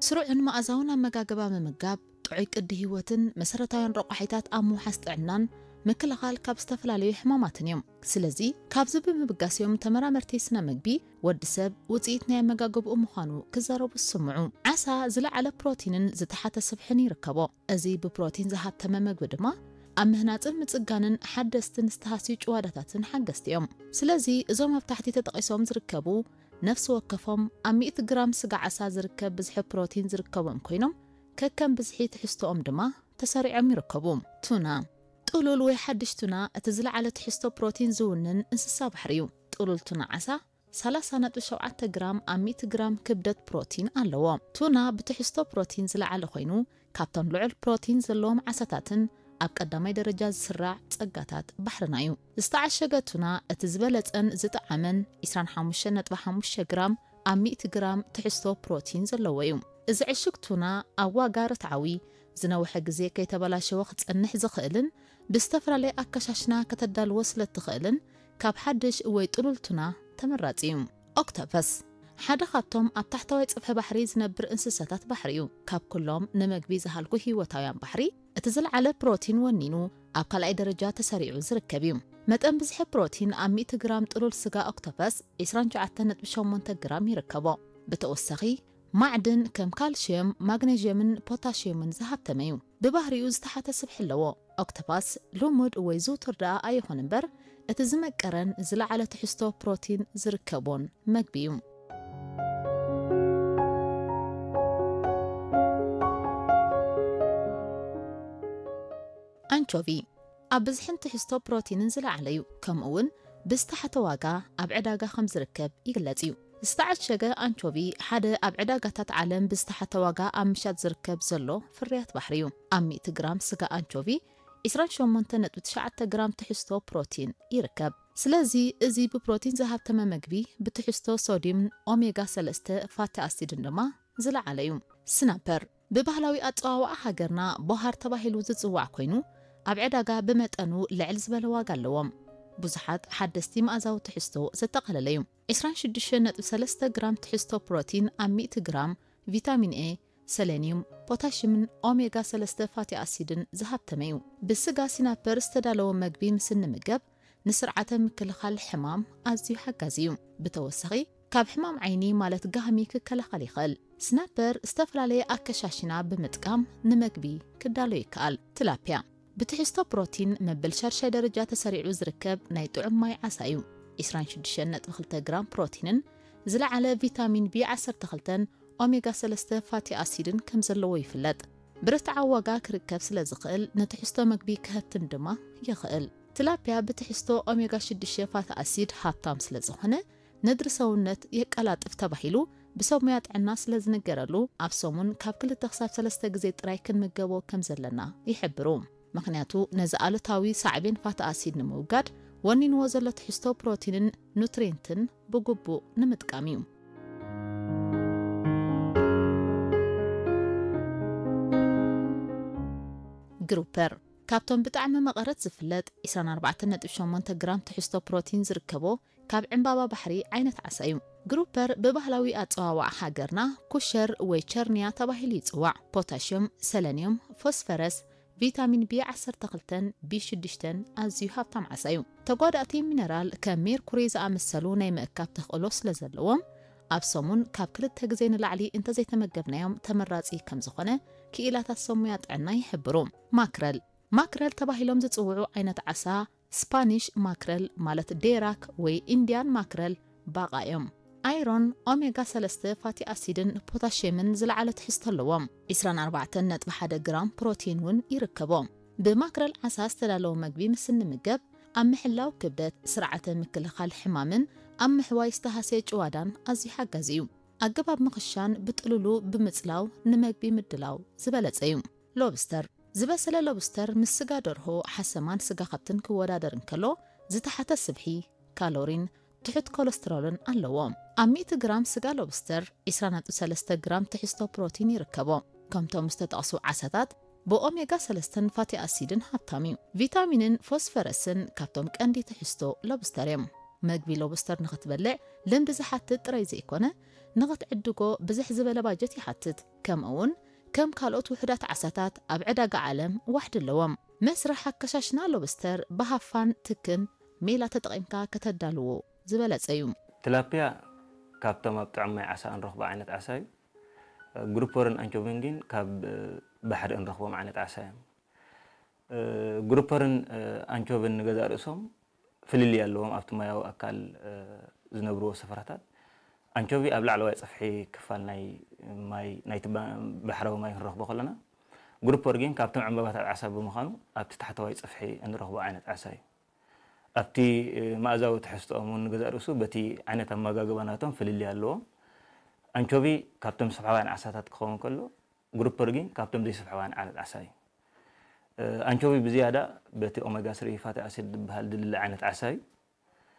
ስሩዕን መኣዛውን ኣመጋግባ ምምጋብ፣ ጥዑይ ቅዲ ህይወትን መሰረታውያን ረቋሒታት ኣብ ምውሓስ ጥዕናን ምክልኻል ካብ ዝተፈላለዩ ሕማማትን እዮም። ስለዚ ካብዚ ብምብጋስ እዮም ተመራመርቲ ስነ ምግቢ ወዲ ሰብ ውፅኢት ናይ ኣመጋግብኡ ምዃኑ ክዛረቡ ዝስምዑ። ዓሳ ዝለዓለ ፕሮቲንን ዝተሓተ ስብሕን ይርከቦ። እዚ ብፕሮቲን ዝሃብተመ ምግቢ ድማ ኣብ ምህናፅን ምፅጋንን ሓደስትን ዝተሃስዩ ጭዋዳታትን ሓገዝቲ እዮም። ስለዚ እዞም ኣብ ታሕቲ ተጠቒሶም ዝርከቡ ነፍሲ ወከፎም ኣብ ሚእቲ ግራም ስጋ ዓሳ ዝርከብ ብዝሒ ፕሮቲን ዝርከቦም ኮይኖም ከከም ብዝሒ ትሕዝቶኦም ድማ ተሰሪዖም ይርከቡ። ቱና። ጥሉል ወይ ሓድሽ ቱና እቲ ዝለዓለ ትሕዝቶ ፕሮቲን ዝውንን እንስሳ ባሕሪ እዩ። ጥሉል ቱና ዓሳ ሰላሳ ነጥቢ ሸውዓተ ግራም ኣብ ሚእቲ ግራም ክብደት ፕሮቲን ኣለዎ። ቱና ብትሕዝቶ ፕሮቲን ዝለዓለ ኮይኑ ካብቶም ልዑል ፕሮቲን ዘለዎም ዓሳታትን ኣብ ቀዳማይ ደረጃ ዝስራዕ ጸጋታት ባሕርና እዩ። ዝተዓሸገ ቱና እቲ ዝበለጸን ዝጠዓመን ዕስራን ሓሙሽተን ነጥቢ ሓሙሽተ ግራም ኣብ ሚእቲ ግራም ትሕዝቶ ፕሮቲን ዘለዎ እዩ። እዚ ዕሹግ ቱና ኣብ ዋጋ ርትዓዊ ዝነውሐ ግዜ ከይተበላሸወ ክጸንሕ ዝኽእልን ብዝተፈላለየ ኣከሻሽና ከተዳልዎ ስለ እትኽእልን ካብ ሓድሽ ወይ ጥሉል ቱና ተመራጺ እዩ። ኦክቶፐስ ሓደ ካብቶም ኣብ ታሕተዋይ ጽፍሒ ባሕሪ ዝነብር እንስሳታት ባሕሪ እዩ። ካብ ኩሎም ንመግቢ ዝሃልኩ ህይወታውያን ባሕሪ እቲ ዝለዓለ ፕሮቲን ወኒኑ ኣብ ካልኣይ ደረጃ ተሰሪዑ ዝርከብ እዩ። መጠን ብዝሒ ፕሮቲን ኣብ ሚእቲ ግራም ጥሉል ስጋ ኦክቶፐስ ዕስራን ትሽዓተን ነጥቢ ሸሞንተ ግራም ይርከቦ። ብተወሳኺ ማዕድን ከም ካልሽየም፣ ማግኔዥየምን ፖታሽየምን ዝሃብተመ እዩ። ብባህሪኡ ዝተሓተ ስብሒ ኣለዎ። ኦክቶፓስ ልሙድ ወይ ዝውቱር ደኣ ኣይኹን እምበር እቲ ዝመቀረን ዝለዓለ ትሕዝቶ ፕሮቲን ዝርከቦን መግቢ እዩ። ኣንቾቪ ኣብ ብዝሕን ትሕዝቶ ፕሮቲንን ዝለዓለ እዩ። ከምኡ እውን ብዝተሓተ ዋጋ ኣብ ዕዳጋ ከም ዝርከብ ይግለጽ እዩ። ዝተዓሸገ ኣንቾቪ ሓደ ኣብ ዕዳጋታት ዓለም ብዝተሓተ ዋጋ ኣብ ምሻጥ ዝርከብ ዘሎ ፍርያት ባሕሪ እዩ። ኣብ ሚእቲ ግራም ስጋ ኣንቾቪ ዕስራን ሸሞንተን ነጥቢ ትሽዓተ ግራም ትሕዝቶ ፕሮቲን ይርከብ። ስለዚ እዚ ብፕሮቲን ዝሃብተመ መግቢ ብትሕዝቶ ሶድዩምን ኦሜጋ ሰለስተ ፋቲ ኣሲድን ድማ ዝለዓለ እዩ። ስናፐር ብባህላዊ ኣጸዋውዓ ሃገርና ቦሃር ተባሂሉ ዝጽዋዕ ኮይኑ ኣብ ዕዳጋ ብመጠኑ ልዕል ዝበለ ዋጋ ኣለዎም። ብዙሓት ሓደስቲ መኣዛዊ ትሕዝቶ ዘጠቓለለ እዩ። ዕስራን ሽዱሽተን ነጥቢ ሰለስተ ግራም ትሕዝቶ ፕሮቲን ኣብ ሚእቲ ግራም ቪታሚን ኤ፣ ሰሌንዩም፣ ፖታሽምን ኦሜጋ ሰለስተ ፋቲ ኣሲድን ዝሃብተመ እዩ። ብስጋ ሲናፐር ዝተዳለወ መግቢ ምስ እንምገብ ንስርዓተ ምክልኻል ሕማም ኣዝዩ ሓጋዚ እዩ። ብተወሳኺ ካብ ሕማም ዓይኒ ማለት ጋህሚ ክከላኸል ይኽእል። ስናፐር ዝተፈላለየ ኣከሻሽና ብምጥቃም ንመግቢ ክዳሎ ይከኣል። ትላፒያ ብትሕዝቶ ፕሮቲን መበል ሻድሻይ ደረጃ ተሰሪዑ ዝርከብ ናይ ጥዑም ማይ ዓሳ እዩ። ዕስራን ሽዱሽተን ነጥቢ ክልተ ግራም ፕሮቲንን ዝለዓለ ቪታሚን ቢ ዓሰርተ ክልተን ኦሜጋ ሰለስተ ፋቲ ኣሲድን ከም ዘለዎ ይፍለጥ። ብርትዓዊ ዋጋ ክርከብ ስለ ዝኽእል ንትሕዝቶ መግቢ ክሀብትም ድማ ይኽእል። ትላፒያ ብትሕዝቶ ኦሜጋ ሽዱሽተ ፋቲ ኣሲድ ሃብታም ስለ ዝኾነ ነድሪ ሰውነት የቀላጥፍ ተባሂሉ ብሰብ ሙያ ጥዕና ስለ ዝንገረሉ ኣብ ሰሙን ካብ ክልተ ክሳብ ሰለስተ ግዜ ጥራይ ክንምገቦ ከም ዘለና ይሕብሩ። ምኽንያቱ ነዚ ኣሉታዊ ሳዕቤን ፋቲ ኣሲድ ንምውጋድ ወኒንዎ ዘሎ ትሕዝቶ ፕሮቲንን ኑትሪንትን ብግቡእ ንምጥቃም እዩ። ግሩፐር ካብቶም ብጣዕሚ መቐረት ዝፍለጥ ዕስራን ኣርባዕተን ነጥቢ ሸሞንተ ግራም ትሕዝቶ ፕሮቲን ዝርከቦ ካብ ዕምባባ ባሕሪ ዓይነት ዓሳ እዩ። ግሩፐር ብባህላዊ ኣጸዋውዓ ሃገርና ኩሸር ወይ ቸርንያ ተባሂሉ ይጽዋዕ። ፖታሽዮም፣ ሰለንዮም፣ ፎስፈረስ፣ ቪታሚን ቢ ዓሰርተ ክልተን ቢ ሽዱሽተን ኣዝዩ ሃብታም ዓሳ እዩ። ተጓዳእቲ ሚነራል ከም ሜርኩሪ ዝኣመሰሉ ናይ ምእካብ ተኽእሎ ስለ ዘለዎም ኣብ ሰሙን ካብ ክልተ ግዜ ንላዕሊ እንተዘይተመገብናዮም ተመራጺ ከም ዝኾነ ክኢላታት ሰብ ሙያ ጥዕና ይሕብሩ። ማክረል ማክረል ተባሂሎም ዝጽውዑ ዓይነት ዓሳ ስፓኒሽ ማክረል ማለት ዴራክ ወይ ኢንዲያን ማክረል ባቓ እዮም። ኣይሮን፣ ኦሜጋ ሰለስተ ፋቲ ኣሲድን ፖታሽየምን ዝለዓለ ትሕዝቶ ኣለዎም። ዕስራን ኣርባዕተን ነጥቢ ሓደ ግራም ፕሮቲን እውን ይርከቦ። ብማክረል ዓሳ ዝተዳለወ መግቢ ምስ እንምገብ ኣብ ምሕላው ክብደት፣ ስርዓተ ምክልኻል ሕማምን ኣብ ምሕዋይ ዝተሃስየ ጭዋዳን ኣዝዩ ሓጋዚ እዩ። ኣገባብ ምኽሻን ብጥሉሉ ብምጽላው ንመግቢ ምድላው ዝበለጸ እዩ። ሎብስተር ዝበሰለ ሎብስተር ምስ ስጋ ደርሆ፣ ሓሰማን ስጋ ከብትን ክወዳደር እንከሎ ዝተሓተ ስብሒ፣ ካሎሪን፣ ትሑት ኮለስትሮልን ኣለዎ። ኣብ ሚእቲ ግራም ስጋ ሎብስተር ዕስራ ነጥቢ ሰለስተ ግራም ትሕዝቶ ፕሮቲን ይርከቦ። ከምቶም ዝተጠቕሱ ዓሳታት ብኦሜጋ ሰለስተን ፋቲ ኣሲድን ሃብታም እዩ። ቪታሚንን ፎስፈረስን ካብቶም ቀንዲ ትሕዝቶ ሎብስተር እዮም። መግቢ ሎብስተር ንኽትበልዕ ልምዲ ዝሓትት ጥራይ ዘይኮነ፣ ንኽትዕድጎ ብዝሕ ዝበለ ባጀት ይሓትት። ከምኡ እውን ከም ካልኦት ውሑዳት ዓሳታት ኣብ ዕዳጋ ዓለም ዋሕዲ ኣለዎም። መስርሕ ኣከሻሽና ሎብስተር ብሃፋን ትክን ሜላ ተጠቒምካ ከተዳልዎ ዝበለጸ እዩ። ትላፒያ ካብቶም ኣብ ጥዑም ማይ ዓሳ እንረኽቦ ዓይነት ዓሳ እዩ። ግሩፐርን ኣንቾቪን ግን ካብ ባሕሪ እንረኽቦም ዓይነት ዓሳ እዮም። ግሩፐርን ኣንቾቪን ንገዛእ ርእሶም ፍልልይ ኣለዎም ኣብቲ ማያዊ ኣካል ዝነብርዎ ስፍራታት። ኣንቾቪ ኣብ ላዕለዋይ ጸፍሒ ክፋል ናይ ማይ ናይቲ ባሕራዊ ማይ ክንረኽቦ ከለና፣ ግሩፐር ግን ካብቶም ዕምባባታት ዓሳ ብምዃኑ ኣብቲ ታሕተዋይ ጸፍሒ እንረኽቦ ዓይነት ዓሳ እዩ። ኣብቲ መኣዛዊ ትሕዝትኦም እውን ንገዛእ ርእሱ በቲ ዓይነት ኣመጋግባ ናቶም ፍልልይ ኣለዎም። ኣንቾቪ ካብቶም ስብሓውያን ዓሳታት ክኸውን ከሎ፣ ግሩፐር ግን ካብቶም ዘይስብሓውያን ዓይነት ዓሳ እዩ። ኣንቾቪ ብዝያዳ በቲ ኦሜጋ ስሪ ፋቲ ኣሲድ ዝበሃል ድልለ ዓይነት ዓሳ እዩ።